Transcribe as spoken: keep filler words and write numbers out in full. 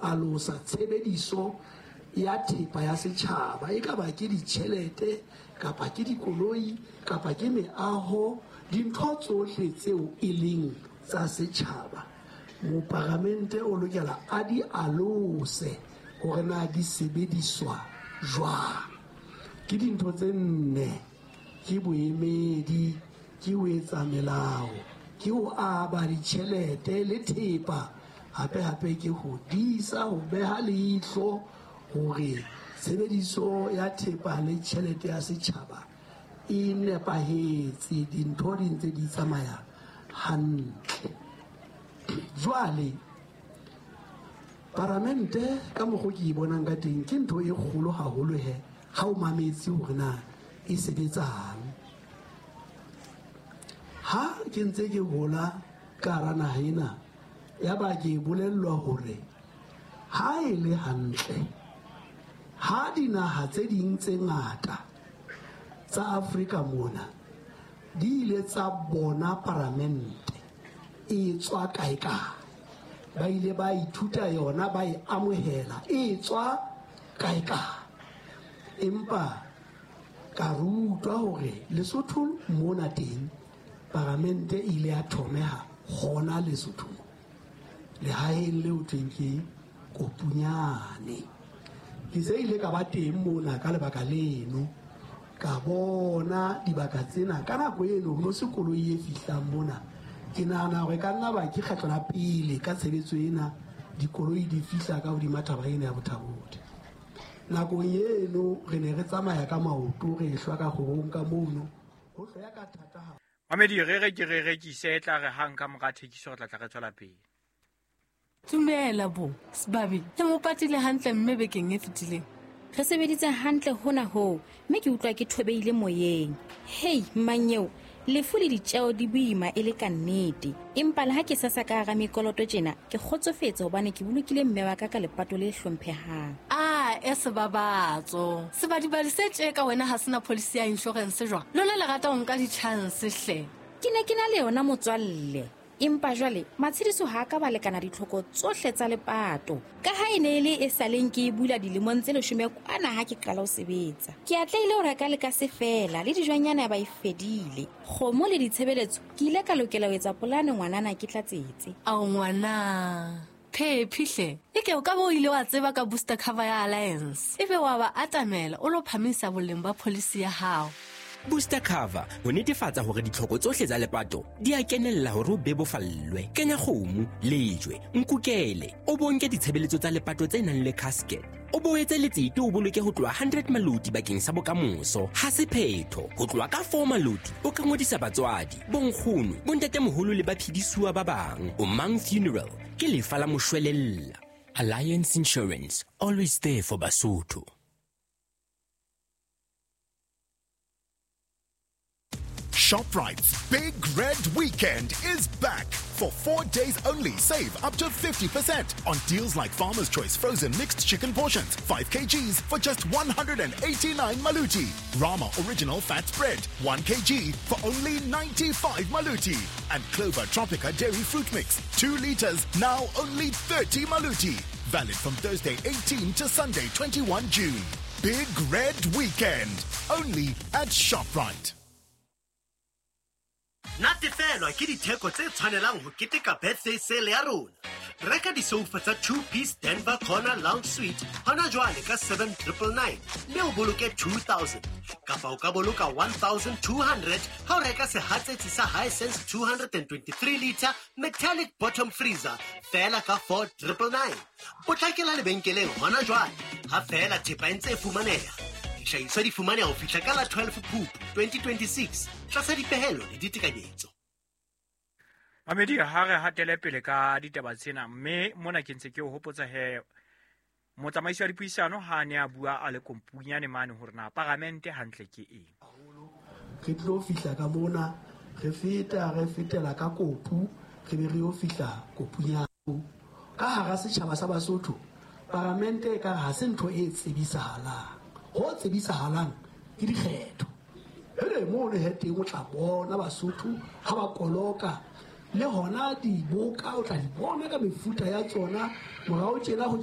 alosa tshebediso ya thepa ya setjhaba, e ka ba ke ditjhelete kapa ke dikoloi kapa ke meaho, dintho tsohle tseo e leng tsa setjhaba. Moparamente o lokela a di alose hore na di sebediswa jwang. Ke dintho tse nne, ke boemedi, ke ho etsa melao, ke ho aba ditjhelete le thepa, hape hape ke ho disa, ho beha leihlo hore tshebediso ya thepa le tjhelete ya setjhaba e nepahetse, dintho di ntse di tsamaya hantle. Jwale paramente ka mokgo ke e bonang ka teng ke ntho e kgolo haholo he ha o mametse hore na e sebetsang. Ha ke ntse ke hola ka hara naha ena, ya ba ke bolellwa hore ha e le hantle ha dinaha tse ding tse ngata tsa Afrika mona di ile tsa bona paramente e tswa kae kae, ba ile ba ithuta yona, ba e amohela e tswa kae kae. Empa ka rutwa hore Lesotho mona teng paramente e ile ya thomeha hona Lesotho, lehaeng leo thweng ke Kopunyane. Ke se ile ka ba teng mona ka lebaka leno, ka bona dibaka tsena. Ka nako eno ho no se koloi e fihlang mona. Ke nahana hore ka nna ba ke kgetlo la pele ka tshebetso ena dikoloi di fihla ka hodima thaba ena ya Bothabodi. Nakong eno re ne re tsamaya ka maoto, re hlwa ka kgorong ka mono, ho hloya ka thata ha. Mamedi, re re ke re rekise, e tla re hang ka mora thekiso re tla tla re tswela pele. Dumela bo, Sebabi, le mo patile hantle mme bekeng e fetileng. Re sebeditse hantle hona hoo, mme ke utlwa ke thobeile moyeng. Hei, mmanyeo, lefu le ditjeo di boima e le ka nnete. Empa le ha ke sasa ka hara mekoloto tjena, ke kgotsofetse hobane ke bolokile mme wa ka ka lepato le hlomphehang. Ah, e sebabatso. Sebadibadi se tje ka wena ha sena policy ya insurance jwang? Lona le rata ho nka di-chance hle. Ke ne ke na le yona motswalle. Empa jwale matshediso ha ka ba lekana ditlhoko tsohle tsa lepato. Ka ha e ne e le e saleng ke e bula dilemong tse leshome kwana ha ke qala ho sebetsa. Ke atlehile ho reka le ka se fela le dijwanyana ba e fedile. Kgomo le ditshebeletso ke ile ka lokela ho etsa polane ngwanana ke tlatsetse. Ao ngwana, Phephi hle. Eke o ka bo ile wa tseba ka booster cover ya Alliance. Ebe wa ba atamela o lo phamisa boleng ba policy ya hao. Booster cover ho netefatsa hore ditlhoko tsohle tsa lepato di a kenella hore o bebofallwe. Kenya kgomo, lejwe, nkukele, o bonke ditshebeletso tsa lepato tse nang le casket. O boetse letsete o boloke ho tloha hundred maloti bakeng sa bokamoso. Ha se phetho, ho tloha ka four maloti o ka ngodisa batswadi, bonkgono, bontatemoholo le baphedisuwa ba bang. O Mang Funeral ke lefa la moshwelella. Alliance Insurance, always there for Basotho. ShopRite's Big Red Weekend is back. For four days only, save up to fifty percent on deals like Farmer's Choice frozen mixed chicken portions, five kilograms for just one hundred eighty-nine maluti. Rama Original Fat Spread, one kilogram for only ninety-five maluti. And Clover Tropica Dairy Fruit Mix, two liters, now only thirty maluti. Valid from Thursday eighteenth to Sunday twenty-first June. Big Red Weekend, only at ShopRite. Natefelwa ke ditheko tse tshwanelang ho keteka birthday sale ya rona. Reka disofa tsa two-piece Denver Corner Lounge Suite hona jwale ka seven triple nine mme o boloke two thousand. Kapa o ka boloka one thousand two hundred ha o reka sehatsetsi sa Hisense two hundred and twenty-three liter metallic bottom freezer feela ka four triple nine. Potlakela lebenkeleng hona jwale ha feela thepa e ntse e fumaneha. Dihlahiswa di fumaneha ho fihla ka la twelve Phupu twenty twenty-six tlasa dipehelo le ditekanyetso. Mamedi, ha re hatele pele ka ditaba tsena, mme mona ke ntse ke o hopotsa he motsamaisi wa dipuisano ha ne a bua a le kompunyane mane hore na paramente hantle ke eng. Re tlo fihla ka mona, re feta re fetela ka Kopu, re be re yo fihla Kopunyane. Ka hara setjhaba sa Basotho, paramente e ka ha se ntho e tsebisahalang. Ho tsebisahalang ke dikgetho. Hele mo le heteng o tla bona Basotho ha ba koloka le hona diboka o tla di bona ka mefuta ya tsona morao tjena ho